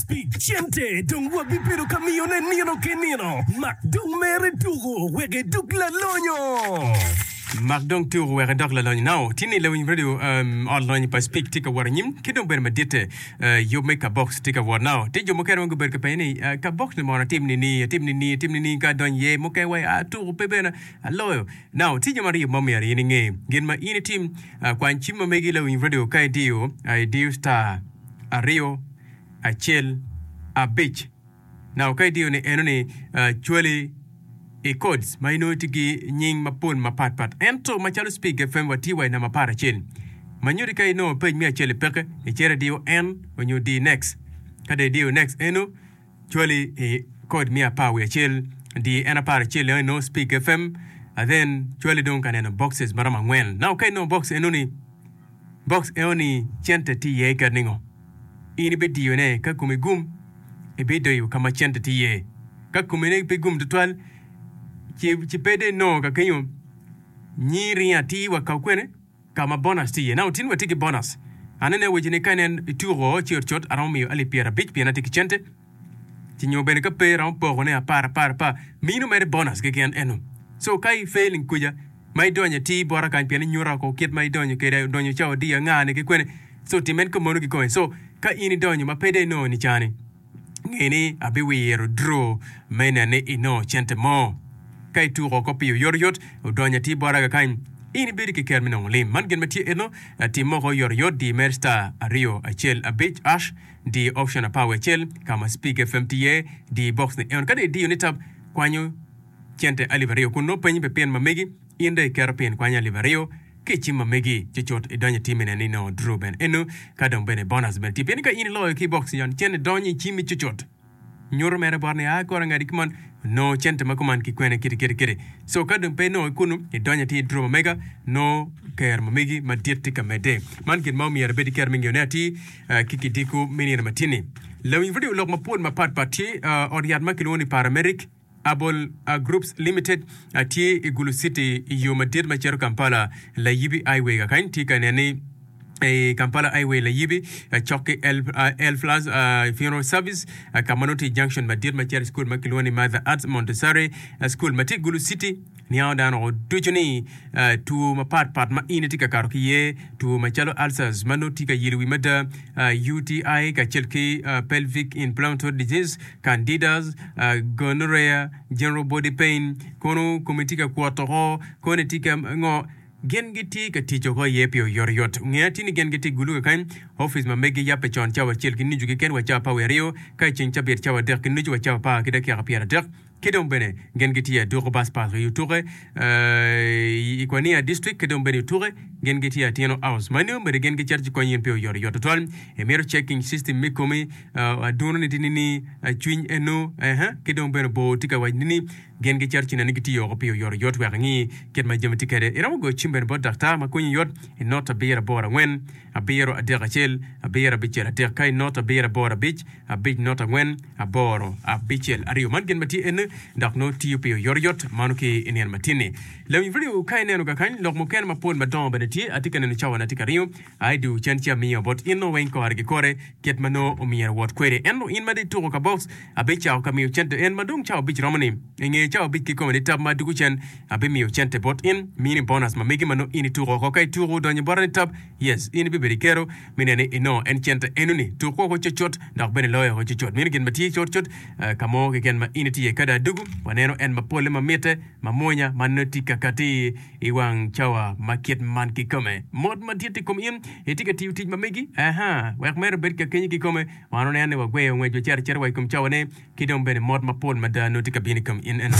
Speke cente dong wabibedo ka miyone nino ki nino. Mak dong mere tuko wek idok lalonyo. Mak dong tuko wek idok lalonyo. Now, tye ni lawiny radio um, ot lonyo pa Speke tye ka wot anyim ki dong bedo maditte. Uh, yub me kabox tye ka wot. Now, tye jo mukene ma gubedo ka penyo ni uh, kabox ni mono atim nini, atim nini, atim nini ka adonyo iye. Mukene wai ah, tuko pe bene aloyo. Now, tye jami aryo ma myero in inge. Gin ma in itim, uh, kwany cim ma megi lawiny radio ka idiyo, uh, idiyo star aryo, acel, abic. Now ka idiyo ni eno ni cwali i codes ma inongo tye ki nying mapol mapat pat. Ento macalo Speak FM watye wa i namba 11. Ma nyuti ka inongo page me acel i peke, icito idiyo N onyo di next. Ka dong idiyo next eno cwali i code me apar wiye acel, di en apar acel eno inongo Speak FM and then cwali dong ka neno boxes maromo angwen. Now ka inongo box eno ni Box eno ni cente tye iye kit ningo? In ibidiyone ka komi gum, ibidoyo ka ma cente tye iye. Ka komi ne pe gum tutwal, ci, ci pe dong inongo ka kenyo nyi ringo atir wa ka kwene ka ma bonus tye iye. Now tin watye ki bonus. Anene awaci ni ka inen ituko ci cut aromo miyo alip 50 pien atye ki cente. Ci nyo bene ka pe romo poko ne apar apar apar mino mere bonus keken eno. So ka i failing kuca ma idonyo atir bota kany pien inyuta oko kit ma idonyo kede odonyo cawa adi anga ni ki kwene so tim en kumono kikome. So ka in idonyo ma pe dong inongo nicani nge ni abiwiro draw me neno ni inongo cente mo. Ka ituko oko pi oyotoyot odonyo atir bota kakany in ibedo ki ker me nongo lim. Man gin ma tye eno tim moko oyotoyot di mer star aryo acel abic ash Di option apar wiye acel ka ma Speak FM tye iye, di box ni eno. Ka dong idiyo ni tab kwanyo cente alip aryo kun nongo penyi pi pin ma megi, in dong iketo pin kwanyo alip aryo ki i cim ma megi ci cut idonyo i tim ene ni nongo draw bene eno ka dong bene bonus bene tye. Pien ni ka in iloyo ki i box ni cente donyo i cimmi cucut. Nyuto mere bot ni a kore ngati kuman nongo cente ma kuman ki kwene kiti kiti kiti. So ka dong pe inongo ki kunu, idonyo atir i draw ma mega, nongo kero ma megi madit tye ka medde. Man gin ma omyero ibed ki kero me ngeyone atir ki kidiko me nino matini. Lawiny pud lok mapol mapat pat tye ot yat ma kilwongo ni Paramedic Herbal Groups Limited tye i Gulu City i yo madit ma cito Kampala Layibi Highway. Kakany tye ka nen ni i Kampala Highway Layibi cok ki Elflas Funeral Service ka ma nongo tye i junction madit ma cito i cukul ma kilwongo ni Mother Arts Montessori School ma tye i Gulu City. Niango dano woko ducu ni two mapat pat ma in itye ka kato ki iye, two macalo ulcers ma nongo tye ka yelo wi mada, UTI kacel ki pelvic inflammatory disease, candidas, gonorrhea, general body pain, kono komi tye ka kwot oko, kono itye ka ngo, gin gitye ka tic oko iye pi oyotoyot. Nge atir ni gin gitye i Gulu kakany, opic ma megi yabbe con cawa acel ki nucu keken wa cawa apar wiye aryo, ka i ceng cabit cawa adek ki nucu wa cawa apar ki dakika pyeraadek. Ki dong bene gin gitye i Aduku Bus Park i Otuke i Kwania District ki dong bene i Otuke gin gitye i Atyeno House. Ma nio bene gin gicito ci konyo in pi oyotoyot tutwal. Imito checking system me komi, aduno ni tye nini, cwiny eno, ki dong bene bor tye ka wac nini, gin gicito ci neno ni gitiyo oko pi oyotoyot wek ingi kit ma jami tye kwede. Iromo goyo cim bene bot daktar ma konyi yot i not abiro aboro angwen, abiro adek acel, abiro abicel adek ka i not abiro aboro abic, abic not angwen, aboro, abicel, aryo. Man gin ma tye ene dok nongo tiyo pi oyotoyot mano ki i nino matin-ni. Lawiny vidio ka ineno kakany lok mukene mapol madongo bene tye. Atye ka neno cawa-na tye ka ringo. I do cen ci amiyo bot in nongo weng kore ki kore kit ma nongo omyero wot kwede. Ento in ma dong ituko ka box abicako ka miyo cente en ma dong cawa abic romo ni. I nge cawa abic kikome ni tab ma adugo cen abimiyo cente bot in mini bonus ma megi ma nongo in ituko oko. Ka ituko odonyo bota ni tab yes in ibibedo ikero me neno ni inongo en cente enoni. Tuk woko cucut dok bene loyo woko cucut. Meno gin ma tye cutcut ka mo keken ma in itye iye. Ka dong adugu, waneno en ma polle ma mitte, ma mwonya, ma nongo tye ka kati i wang cawa ma kit man kikome. Mot madit i kom in, itye ka tiyo tic ma megi? Aha, wek mere obed ka kenyi kikome. Wan waneno ni wagweyo ngwec wacito acita wa i kom cawane, ki dong bene mot mapol mada nongo tye ka bino i kom in eno.